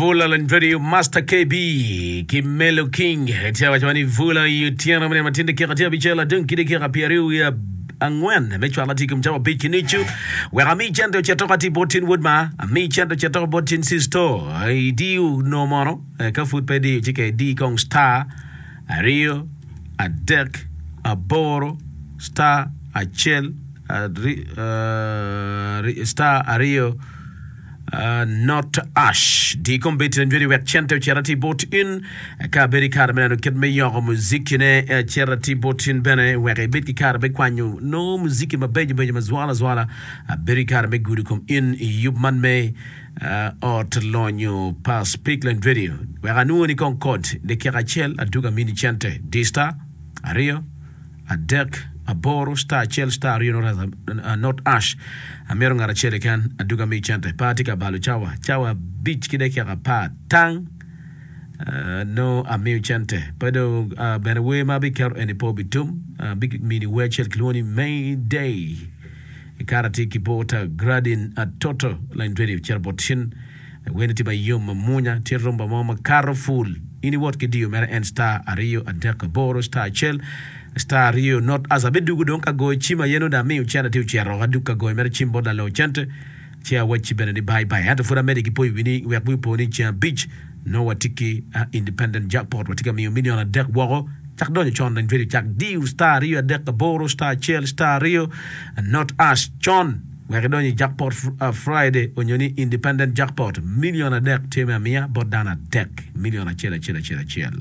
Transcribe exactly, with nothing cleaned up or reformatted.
Vula Landredio Master K B ki Melo King tye waco ni Vula i otyeno mene matin dakika tye abicel adong ki dakika pyeraryo wiye angwen me cwalo atye i kom cawa abic ki nucu. Wek ami cente ocito ka tye bot tin wod ma ami cente ocito bot tin sisto idiyo no mono. eh, ka pud pe diyo ci ka idi kong star aryo adek aboro star acel ari, uh, star aryo Uh, not ash di kombeddi njwedi wek cente ocit ati bot in. Ka bedo i kare me neno kit me yoko muzikine, cit ati bot in bene wek ibed ki kare me kwanyo nongo muziki mabeco beco ma zwala zwala. Bedo i kare me gudo kom in i yub man me uh, ot lonyo pa Speakland Radio. Wek anwoni kong kod dakika acel aduga mini cente di star aryo adek aboro star acel star aryo not, uh, not ash. Amito ngat acel keken aduga mi cente. Pa atye ka balo cawa cawa abic ki dakika apar tang. Uh, no amiyo cente pe do. uh, bene wer ma abiketo eni pe obitum. uh, bimini wer acel kilwongo ni Mayday. I kare atye ki bota Gradin Atoto Line Radio cito bot cin weni tye mayom mamunya tye rumba mo makato ful in iwot ki diyo mere en star aryo adek aboro star acel star aryo not as abidugo dong ka goyo cim aye nongo dong amiyo cente tye ocito adug ka goyo mere cim bot lalo cente ci awacci bene ni bye bye. Ento pud amedde ki poyo wi ni wek wi opo ni ceng abic nongo watye ki uh, independent jackpot. Watye ka miyo milion adek woko. Cak donyo con Line Radio, cak diyo star aryo adek aboro star acel star aryo not ash con wek idonyo i jackpot uh, Friday onyo ni independent jackpot. Milion adek tye me amiya bot dano adek, milion acel acel acel acel.